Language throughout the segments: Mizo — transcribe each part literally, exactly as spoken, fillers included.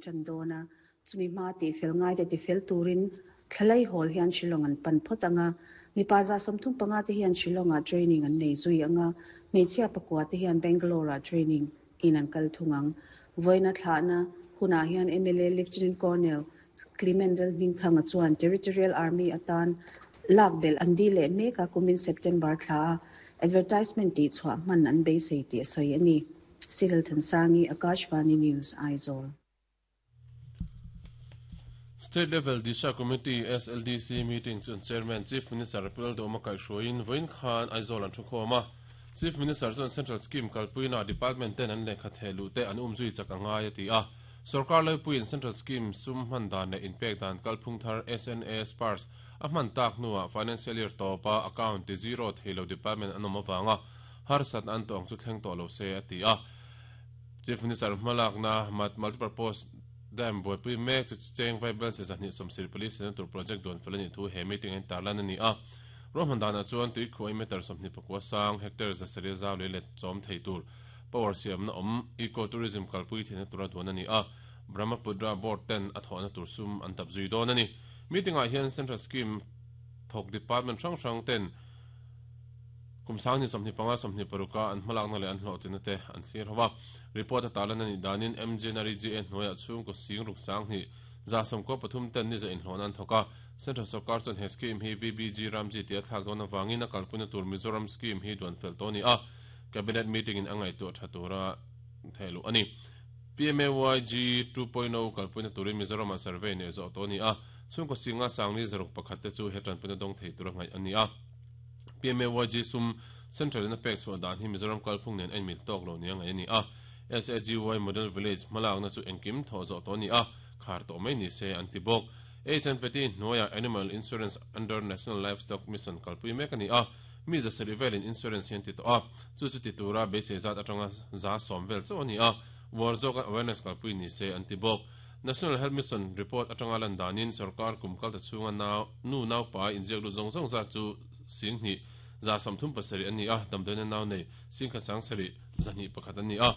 tan dawn a, chumi hma tih fel ngai te tifel turin thlalai hawl hian Shillong an pan phawt anga, mipa za sawmthum panga te hian Shillong-ah training an nei zui anga, hmeichhia pakua te hian Bangalore-ah training in an kal thung ang. Vawiina thlahna hunah hian M L A Lieutenant Colonel Clement Lalhmingthanga chuan Territorial Army atan lak belh an dil leh mek a, kumin September thla a advertisement tih chhuah hman an beisei tih a sawi a ni. Cyril Thansangi, Akashvani News, Aizawl. State Level Disha Committee S L D C meeting chuan Chairman Chief Minister Pu Lalduhoma kaihhruaiin vawiin khan Aizawl an thu khawm a. Chief Minister chuan Central Scheme kalpuina Department ten an lehkha theh luh te an umzui chak a ngai a ti a. Sarkar Laipuiin Central Scheme sum hman dan leh inpek dan kalphung thar S N A Spars a hman tak hnuah Financial Year tawpa account ti zero theilo department an awm avanga harsat an tawng chu thleng tawh lo se a ti a. Chief Minister hmalakna multipurpose dam buaipui mek chu cheng vai bel che zahnih sawmsir police senator project duan fel ani thu he meeting an tarlan ani a. Rohman dana chuan tui khuai meter sawmhnih pakua sang hectare zasaria zau lei let chawm thei tur power siam na awm eco tourism kalpui theihna tura duan ani a. Brahmaputra board ten a thawhna tur sum an tap zui dawn ani. Meeting ah hian Central Scheme thawk department hrang hrang ten kumsang ni sawmhnih panga sawmhnih paruka an hmalakna leh an hlawhtina te an thlir ho a. Report a tarlan ani danin M J N R E G A hnuaiah chhung ko sing ruk sang hnih za sawmkaw pathum ten ni za inhlawhna an thawk a. Central Sarkar chuan he scheme hi V B G Ramji tia thlak dawn awangin a kalpuina tur Mizoram scheme hi duan fel tawh ani a. Cabinet meeting in a ngaihtuah tha tura thehluh ani. P M A Y G two point oh kalpuina turin Mizoram ah survey nei zawh tawh ani a. Chhung ko singa sangli zaruk pakhat te chu he tanpuina dawng thei tura ngaih ani a. P M A Y G sum Central in a pek chhuah dan hi Mizoram kalphung nen en mil tawk lo nia ngaih ani a. S A G Y Model Village hmalakna chu engkim thaw zawh tawh ani a, khar tawh mai ni se an ti bawk. H N P T hnuaiah Animal Insurance under National Livestock Mission kalpui mek ani a. Mi zasari velin insurance hian ti tawh a, chu chu ti tura beisei zat atanga za sawm vel chauh ani a. War zawka awareness kalpui ni se an ti bawk. National Health Mission report atanga lan danin sarkar kum kalta chhunga nau nu nau pa inziak lut zawng zawng zat chu sing hnih za sawmthum pasarih ani a, damdawiina nau nei singkha sangsarih zahnih pakhat ani a.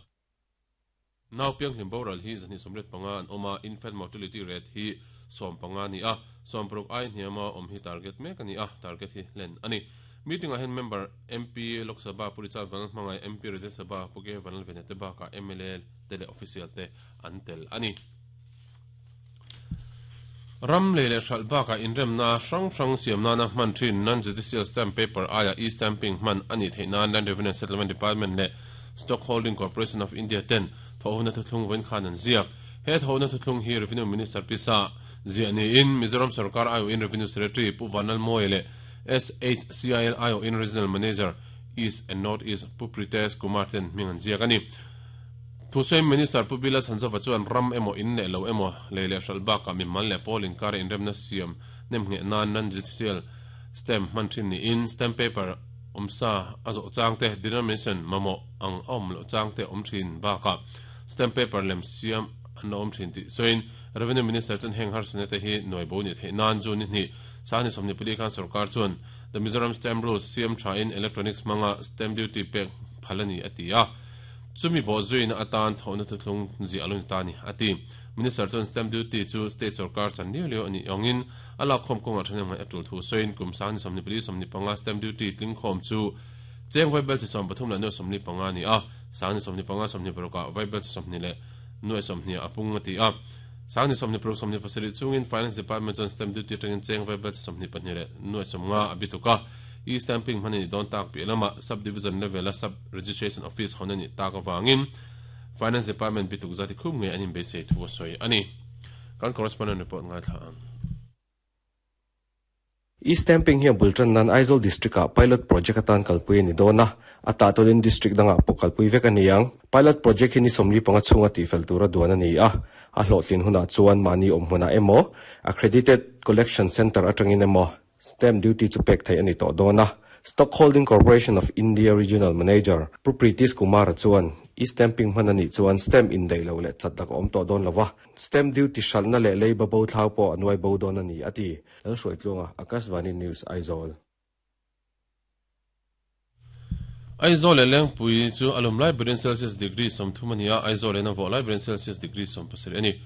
Nau piang hlim boral hi zahnih sawmriat panga an awm a, infant mortality rate hi sawm panga ani a, sawm paruk ai hniama awm hi target mek ani a, target hi hlen ani. Meeting ah hian member M P Lok Sabha Purichal Vanal hmangai M P Rajya Sabha Puke Vanal Venate baka M L A tele official te an tel ani. Ram lei leh hral baka inremna hrang hrang siamna na hman thin non-judicial stamp paper aia e-stamping hman ani theihna Land Revenue and Settlement Department leh Stock Holding Corporation of India ten thawhuna thuthlung vawiin khan an ziak. He thawhuna thuthlung hi Revenue Minister Pisa ziah niin Mizoram Sarkar I O in Revenue Secretary Pu Vanlal Moe leh S H C I L I O in Regional Manager East and North East Pu Pritesh Kumar ten hming an ziak ani. Thusawi Minister Pu Bila Chhanzova chuan ram emaw in leh lo emaw lei leh hral baka mimal leh pawl inkar inremna siam nem nge nan non-judicial stamp hman thin niin stamp paper awmsa a zawh changte denomination mamawh ang a awm loh changte awm thin baka stamp paper lem siam an la awm thin tih sawiin Revenue Minister chuan heng harsana te hi nuai bo ni theih nan chu ni hnih sangni sawmni pali khan sarkar chuan the Mizoram Stamp Rules siam tha in electronics hmanga stamp duty pek phalani a ti a. Chumi bo zuina atan thawhna thuthlung ziah lo ni ta ni a ti. Minister chuan stamp duty chu state sarkar chan liu liu ani ongin ala khom konga thanem ngai atul thu sawiin kum sangni sawmni pali sawmni panga stamp duty tling khom chu cheng vai bel chi sawm pathum la nuai sawmli panga ni a, sangni sawmni panga sawmni paruka vai bel chi sawmni leh nuai sawmhnih a pung a ti a. Sangni sawmni paruk sawmni pasarih chungin Finance Department chuan stamp duty tangin cheng vai bel chi sawmhnih pahnih leh nuai sawmnga a bituka. E-stamping hmani don tak pi lama subdivision level a sub registration office honani tak awangin Finance Department bituk zati khum nge anin beisei thu soi ani. Kan correspondent report ngai thla ang. E-stamping hi bultan nan Aizawl district a pilot project atan kalpui ni dona ata tolin district danga pawh kalpui vek ani ang. Pilot project hi ni sawmli panga chhunga ti fel tura duan ani a, a hlawhtlin huna chuan mani awm huna emaw accredited collection center atangin emaw stamp duty chu pek thei ani tawh dona. Stock Holding Corporation of India Regional Manager Pu Pritesh Kumar chuan e-stamping hman ani chuan stamp in dei lo leh chat dak awm tawh dawn lova, stamp duty hralhna leh leiba bo thlau pawh a nuai bo dawn ani ati. Lalhruaitluanga, Akashvani News, Aizawl. Aizawl leh Lengpui chu alum lai berin Celsius degree sawmthum ani a, Aizawl in a vawh lai berin Celsius degree sawm pasarih ani.